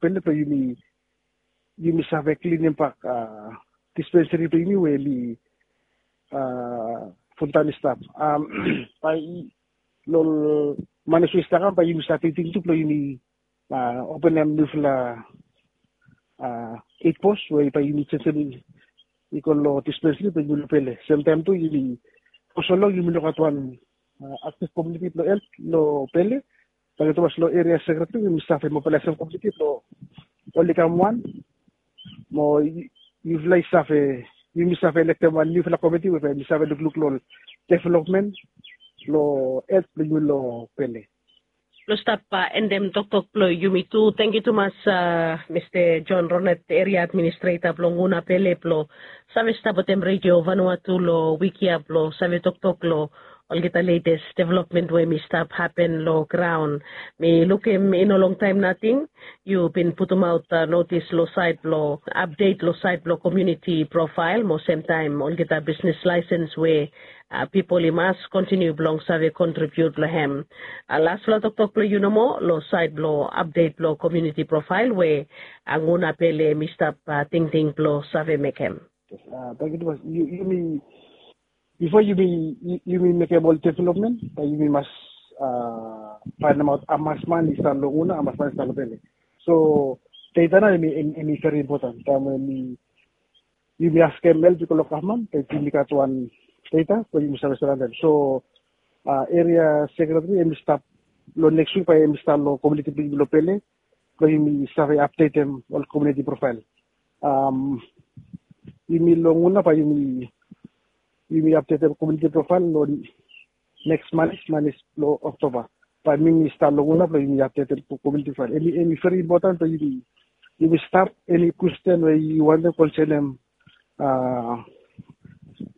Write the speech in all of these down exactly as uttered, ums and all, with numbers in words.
pele blong yumi, yumi save klinim bak, a, dispenseri blong yumi we oli, a, fultaem i stap. Am, bae long manis we i stap kam bae yumi save tingting tu blong yumi, a, openem niufala, a, eit pos we bae yumi jenjem i go long dispenseri blong yumi long pele. Semtaem tu yumi, fo so long yumi no gat wan, a, aktif komuniti blong helt long pele. Tangkiu tumas long eria sekreteri, yumi save mobilaesem komuniti blong oli kam wan. Mo yu, yufala i save, yumi save elektem wan niufala komiti we bae yumi save lukluk long developmen long helt blong yumi long pele. Blong stap, a, endem toktok blong yumi tu. Tangkiu tumas, a, Mista John Ronald, eria administreta blong Nguna Pele, blong save stap wetem Redio Vanuatu long wik ya blong save toktok long olgeta letes developmen we hemi stap hapen long graon. Mi lukim i no longtaem nating yu bin putumaot, a, notis long saed blong apdet long saed blong komuniti profael mo semtaem olgeta bisnis laesens we, a, pipol i mas kontiniu blong save kontribiut long hem. A, lasfala toktok blong yu nomo long saed blong apdet blong komuniti profael we, a, Nguna Pele hemi stap, a, tingting blong save mekem. A, tangkiu tumas. Yu, yumi, bifo yumi, yu, yumi mekem ol developmen, bae yumi mas, a, faenemaot hamas man i stap long Nguna, hamas man i stap long Pele. So deta nao hemi, hemi, hemi veri impoten. Taem we yumi, yumi askem help i go long gavman, bae yumi gat wan deta we yumi save surround hem. So, a, eria sekreteri hemi stap long neks wik, bae hemi stap long komuniti blong yumi long Pele blong yumi save apdetem ol komuniti profael. Am, yumi long Nguna bae yumi, yumi apdetem komuniti profael long neks manis, manis blong Oktoba. Bae mi, mi stat long Nguna blong yumi apdetem komuniti profael. Hemi, hemi veri impoten blong yumi, yumi stap, eni kwestin we yu wantem konsenem, a,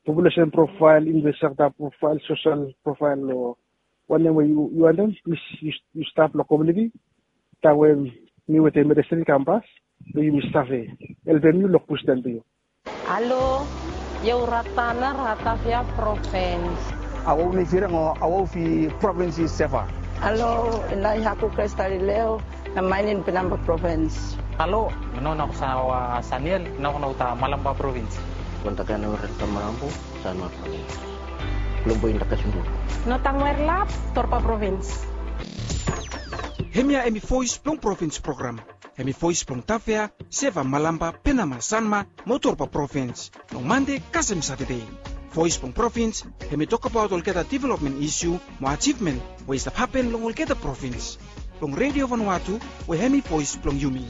populesen profael, investor profael, sosel profael, o wanem we yu, yu wantem, plis yu, yu stap long komuniti. Taem we mi wetem ministri i kam pas, blong yumi save helpem yu long kwestin blong yu. Halo, io u Ratana, Ratavia Provins. Awa u ni firang o awa u fi provins i Seva. Halo, ina i haku Kristalileo, na mainin Pinamba Provins. Halo, mi no na kusa wa Saniel, na kuna uta Malamba Provins. Kontakana Renta Marambo, Sanwa Provins. Lombo inda kasundu. No tangwer lap, Torpa Provins. Hemia hemi Voes blong Provins program. Hemi voes blong Tafea, Seva, Malamba, Penama, Sanma mo Torba Provins. Long Mande kasem Satade. Voes blong Provins hemi tokbaot olgeta developmen isiu mo ajivmen we i stap hapen long olgeta provins. Long Redio Vanuatu we hemi voes blong yumi.